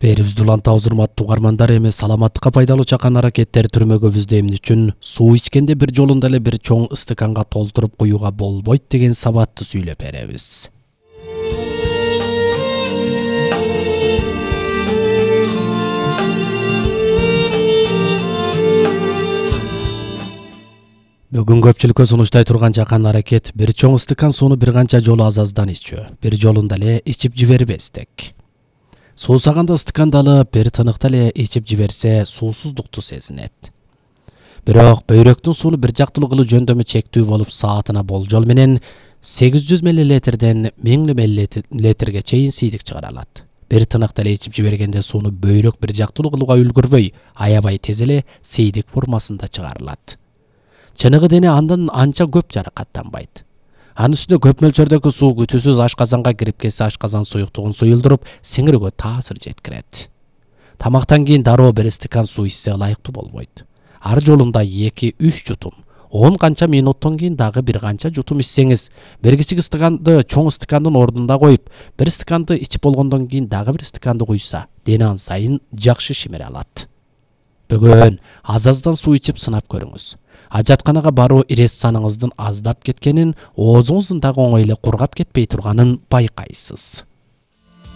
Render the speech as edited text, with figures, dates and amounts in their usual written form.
Берибизди улантабыз урматтуу угармандар, эми саламаттыкка пайдалуу чакан аракеттер түрмөгүбүздө эмне үчүн суу ичкенде бир жолунда эле бир чоң ыстыканга толтуруп куюуга болбойт деген сабатты сүйлөп беребиз. Бүгүн көпчүлүккө сунуштай турган чакан аракет бир чоң ыстыкан сууну бир канча жолу азаздан ичүү, бир жолунда эле ичип жибербестик. Суусаганда ыстыканды алып, бир тыныкта эле ичип жиберсе суусуздукту сезинет. Бирок бөйрөктүн сууну бир жактылуу кылуу жөндөмү чектүү болуп, саатына болжол менен 800 мл-ден 1000 мл чейин сийдик чыгара алат. Бир тыныкта эле ичип жибергенде сууну бөйрөк бир жактылуу кылууга үлгүрбөй, аябай тез эле сийдик формасында чыгарылат. Чыныгы дене андан анча көп жаракаттанбайт. Анын үстүнө көп мөлчөрдөгү суу күтүүсүз ашказанга кирип кетсе, ашказан суюктугун суюлдуруп, сиңирүүгө таасир жеткирет. Тамактан кийин дароо бир стакан суу ичсе ылайыктуу болбойт. Ар жолунда 2-3 жутум, 10 канча минуттон кийин дагы бир канча жутум ичсеңиз, бир кичик стаканды чоң стакандын ордуна коюп, бир стаканды ичип болгондон кийин дагы бир стаканды куйса, дене ан сайын жакшы шимире алат. Бүгүн азаздан суу ичип сынап көрүңүз. Ажатканага баруу ирес саныңыздын аздап кеткенин, оозуңуздун дагы оңой эле кургап кетпей турганын байкайсыз.